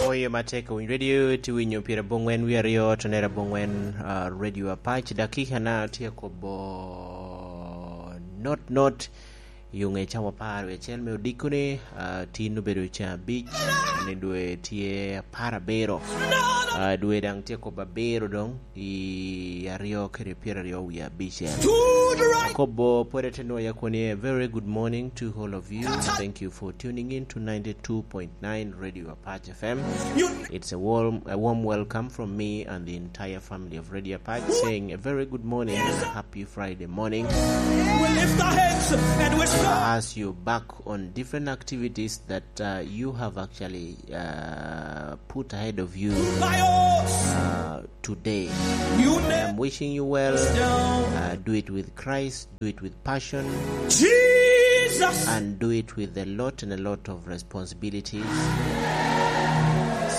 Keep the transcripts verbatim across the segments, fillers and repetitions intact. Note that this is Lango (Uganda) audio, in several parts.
Oyo matek, owiny radio, tye winyo pira bongwen wi aryo, tonera bongwen, ah, radio Apac. Dakika na tye kobo not not, i onge cawa apar wi acel me odiko ni, ah, tin obedo ca abic, ni dwe tye apar abiro. Ah, dwe daŋ tye kobo abiro dong, i aryo kede pyeraryo wie abicel. Akobo pwod ete nwoya koni, a very good morning to all of you. Thank you for tuning in to ninety-two point nine Radio Apache F M. It's a warm, a warm welcome from me and the entire family of Radio Apache, saying a very good morning, a happy Friday morning. We lift our hands and we shout. As you back on different activities that, uh, you have actually, uh, put ahead of you, uh, today. I'm wishing you well. Uh, do it with Christ, do it with passion, Jesus, and do it with a lot and a lot of responsibilities.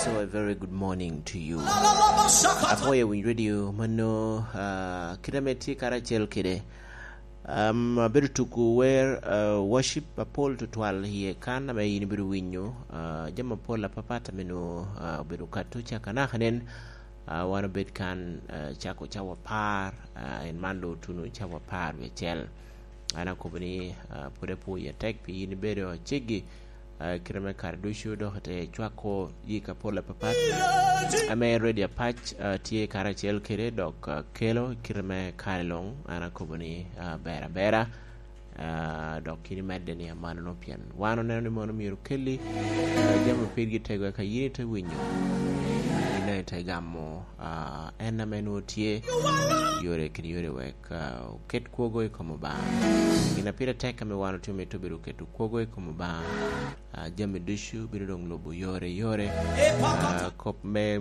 So a very good morning to you. Apwoyo winyo radio mano, uh, kit ame tye karacel kede. Um, abedo tuko wer, uh, worship apol tutwal iye kan ame in ibedo winyo, uh, jami apol apapat ame nwo, uh, obedo kato caka naka nen, uh, wan obed kan, uh, cako cawa apar, uh, en man lo tuno cawa apar wie acel. An akobo ni, uh, pwod apwoyi atek pi in ibedo aceggi, ah, kite me kare ducu, dok ite cwako yik apol apapat ame Radio Apac, ah, tye karacel kede, dok, ah, kelo kite me kare luŋ. An akobo ni, ah, ber abera, ah, dok yin imedde ni amalono, pien wan oneno ni mono myero okelli, ah, jami opirgi tego, eka yin ite winyo, yin daŋ ite gamo, ah, en ame nwoŋo tye yore kede yore wek, ah, oket kwogo i kom Obaŋa. Gin a pire tek ame wan otye mito bedo keto kwogo i kom Obaŋa. Ah, jami ducu bino doŋ lubo yore yore. Ah, kop me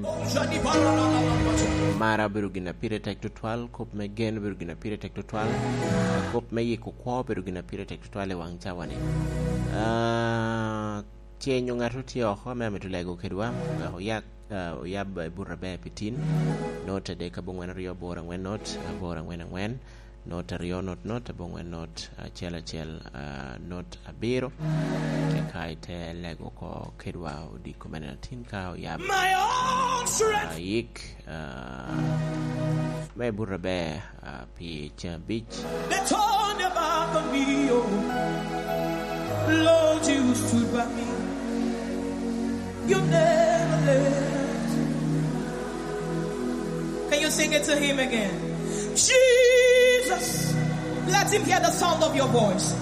mara obedo gin a pire tek tutwal, kop me gen obedo gin a pire tek tutwal, kop me yiko kwo obedo gin a pire tek tutwal i waŋ cawa-ni. Ah, ce nyo ŋat tye oko ame amito lego kedwa, wek oyak, ah, oyab i buto aber pi tin, not adek abongwen aryo aboro angwen not, aboro angwen angwen, not aryo not not, abongwen not acel acel, ah, not abiro. Eka ite lego oko kedwa odiko mene atin ka oyab, ah, yik, ah, me buto aber, ah, pi ceng abic. They turned their back on me, oh. Lord, you stood by me. You never left. Can you sing it to him again? Jesus, let him hear the sound of your voice.